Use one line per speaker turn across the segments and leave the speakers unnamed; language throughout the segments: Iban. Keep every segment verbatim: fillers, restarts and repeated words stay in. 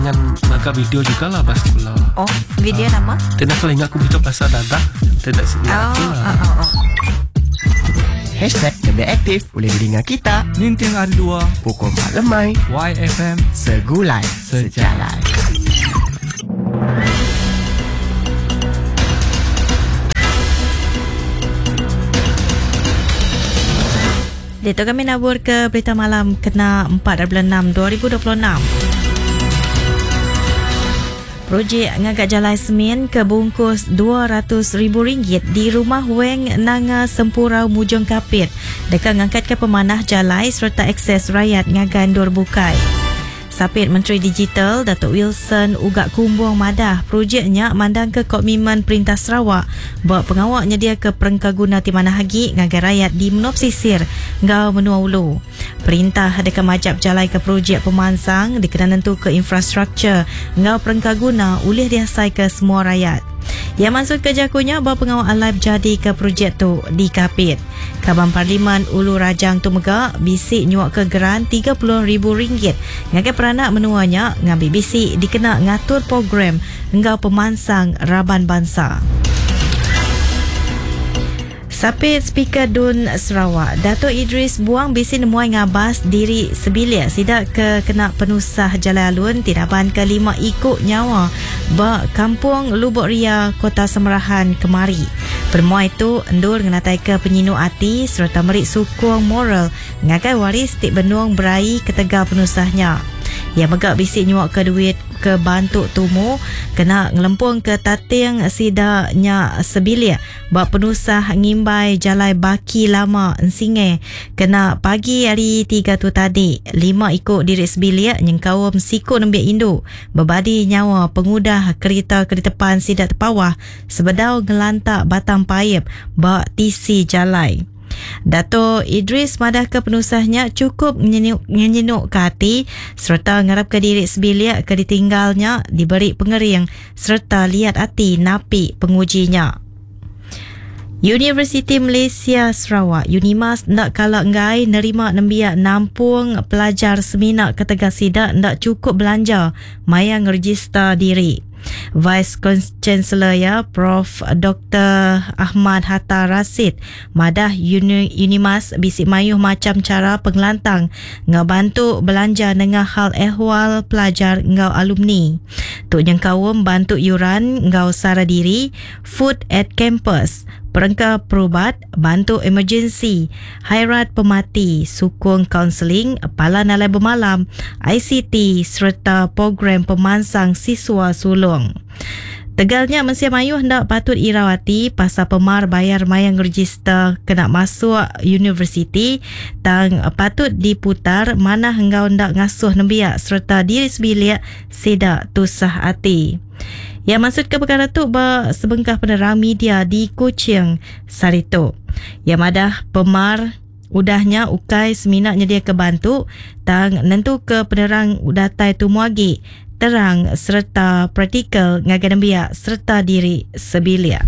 dengan ngaga video juga lah pas sekolah.
Oh, video uh, nama?
Tidak kalau ingat aku video pasal dadah. Tidak sini
oh,
aku lah.
Oh, oh, oh.
Hashtag Lebih Aktif boleh didengar kita
Ninting hari dua
pukul empat lemai
Y F M
Segulai Sejalai.
Dato' kami nabur ke berita malam kena empat bulan enam dua ribu dua puluh enam. Projek ngagak jalai semen ke bungkus dua ratus ribu ringgit di rumah Weng Nanga Sempurau Mujung Kapit. Dekat ngangkat ke pemanah jalai serta akses rakyat ngagan dur bukai. Sapit Menteri Digital Datuk Wilson Ugak Kumbung madah projeknya mandang ke komitmen Perintah Sarawak buat pengawaknya dia ke perengkaguna ti mana hagi ngagai rakyat di Menua Pesisir ngau Menua Ulu. Perintah dekat majap jalai ke projek pemansang dikena nentu ke infrastruktur ngau perengkaguna ulih diasai ke semua rakyat. Yang masuk ke jakunya bahawa pengawal live jadi ke projek tu di Kapit. Kaban Parlimen Ulu Rajang tu mega bisik nyuak ke geran tiga puluh ribu ringgit ngagai peranak menuanya ngambil bisik dikena ngatur program ngau pemansang raban bangsa. Sapit Speaker Dun Sarawak Dato' Idris Buang bisi nemuai ngabas diri sebilik sidak ke kena penusah jalan alun tinaban ke lima ikut nyawa ba Kampung Lubuk Ria Kota Semerahan kemari. Permuai itu endur ngenatai ke penyinu ati serta merik sukung moral ngagai waris tik benung berai ketegal penusahnya. Yang megak bisik nyuak ke duit ke bantuk tumu kena ngelempung ke tating sidaknya sebilik buat penusah ngimbai jalai baki lama ensinge kena pagi hari tiga tu tadi lima ikut diri sebilik nyengkaum siku nembiak induk berbadi nyawa pengudah kereta ke depan sidak terpawah sebedau ngelantak batang paip bak tisi jalai. Dato' Idris madah ke penusahnya cukup nyenyuk ke hati serta ngarap ke diri sebilik ke ditinggalnya diberi pengering serta liat hati napi pengujinya. Universiti Malaysia Sarawak Unimas ndak kala enggai nerima nembiak nampung pelajar seminak ketegas sidak ndak cukup belanja maya ngeregister diri. Vice Chancellor ya Prof Doktor Ahmad Hatta Rasid madah Uni, Unimas bisik mayuh macam cara pengelantang ngau bantu belanja nengah hal ehwal pelajar ngau alumni. Tuk nyengkawum bantu yuran ngau sara diri, food at campus, perengka perubat, bantu emergency, hairat pemati, sukung kaunseling, pala nalai bermalam, I C T serta program pemansang siswa sulung. Tegalnya Mensia Mayuh hendak patut irawati pasal pemar bayar mayang register kena masuk universiti tang patut diputar mana henggau hendak ngasuh nembiak serta diri sebilik sedak tusah hati. Yang maksud ke perkara tu ba sebengkah penerang media di Kuching Sarito. Yang madah pemar udahnya ukai seminaknya dia kebantu tang nentu ke penerang udatai tumuagi terang serta praktikal ngagai nembiak serta diri sebilik.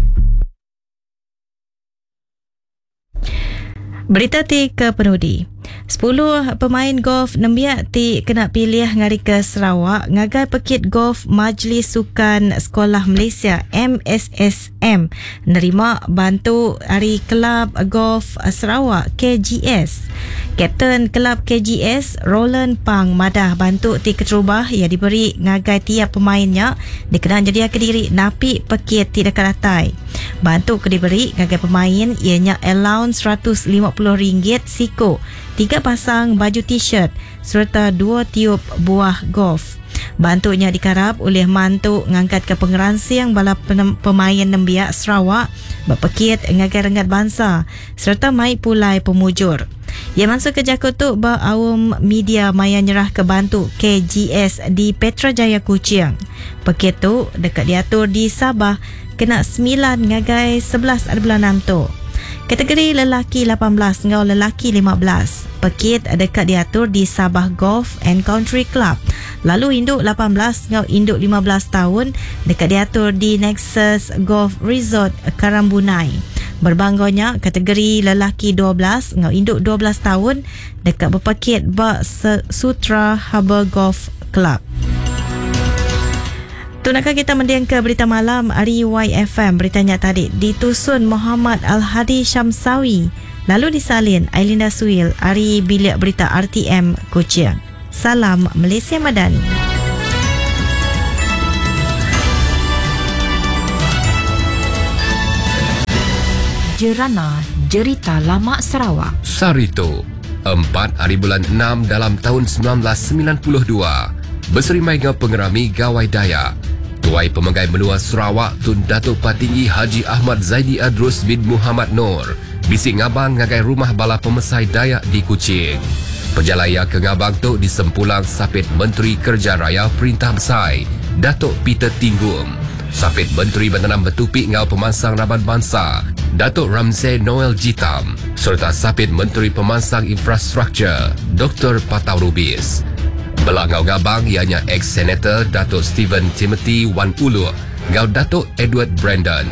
Berita ti ke penudi. Sepuluh pemain golf nembiak ti kena pilih ngari ke Sarawak ngagai pekit golf Majlis Sukan Sekolah Malaysia M S S M nerima bantu dari Kelab Golf Sarawak K G S. Kapten Kelab K G S Roland Pang madah bantu ti keterubah yang diberi ngagai tiap pemainnya dikenal jadi kediri napi pekit ti dekat atai. Bantu ke diberi ngagai pemain ianya allowance seratus lima puluh ringgit siko, tiga pasang baju t-shirt serta dua tiup buah golf. Bantunya dikarap oleh mantu ngangkat ke pengeransing bala pemain nembiak Sarawak berpekit ngagai renggat bangsa serta mai pulai pemujur. Yang masuk ke jakut tu ba awam media maya nyerah ke bantu K G S di Petra Jaya Kuching. Pekit tu dekat diatur di Sabah kena sembilan ngagai sebelas bulan enam tu. Kategori lelaki lapan belas ngau lelaki lima belas. Pekit dekat diatur di Sabah Golf and Country Club. Lalu induk lapan belas ngau induk lima belas tahun dekat diatur di Nexus Golf Resort Karambunai. Berbanggonya kategori lelaki dua belas ngau induk dua belas tahun dekat berpekit ba Sutra Harbour Golf Club. Tu nak kita mendiang ke berita malam hari Y F M. Beritanya tadi ditusun Muhammad Al-Hadi Syamsawi, lalu disalin Ailinda Suil hari bilik berita R T M Kuching. Salam Malaysia Madani.
Jerana Jerita Lama Sarawak.
Sarito, empat hari bulan enam dalam tahun sembilan belas sembilan puluh dua, berserimai dengan pengerami Gawai Dayak. Tuai Pemegai Menua Sarawak Tun Datuk Patinggi Haji Ahmad Zaidi Adrus bin Muhammad Noor bisik ngabang ngagai rumah bala pemesai Dayak di Kuching. Perjalaya ke ngabang tu disempulang Sapit Menteri Kerja Raya Perintah Besai, Datuk Peter Tinggum, Sapit Menteri Bentanam Betupi Ngau Pemansang Raban Bangsa, Datuk Ramsay Noel Jitam, serta Sapit Menteri Pemansang Infrastruktur, Doktor Patau Rubis. Belah ngau ngabang ianya ex-senator Datuk Stephen Timothy Wan Ulu ngau Datuk Edward Brandon.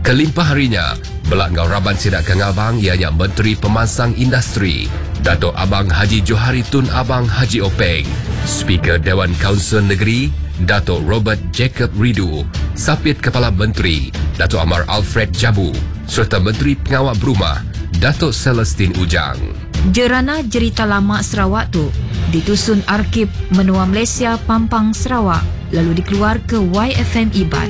Kelimpah harinya, belah ngau raban sidak ke ngabang ianya Menteri Pemansang Industri, Datuk Abang Haji Johari Tun Abang Haji Openg, Speaker Dewan Kaunsil Negeri, Datuk Robert Jacob Ridu, Sapit Kepala Menteri, Datuk Amar Alfred Jabu, serta Menteri Pengawal Berumah, Datuk Celestine Ujang.
Jerana Jerita Lama Sarawak tu ditusun Arkib Menua Malaysia Pampang Sarawak lalu dikeluar ke Y F M Iban.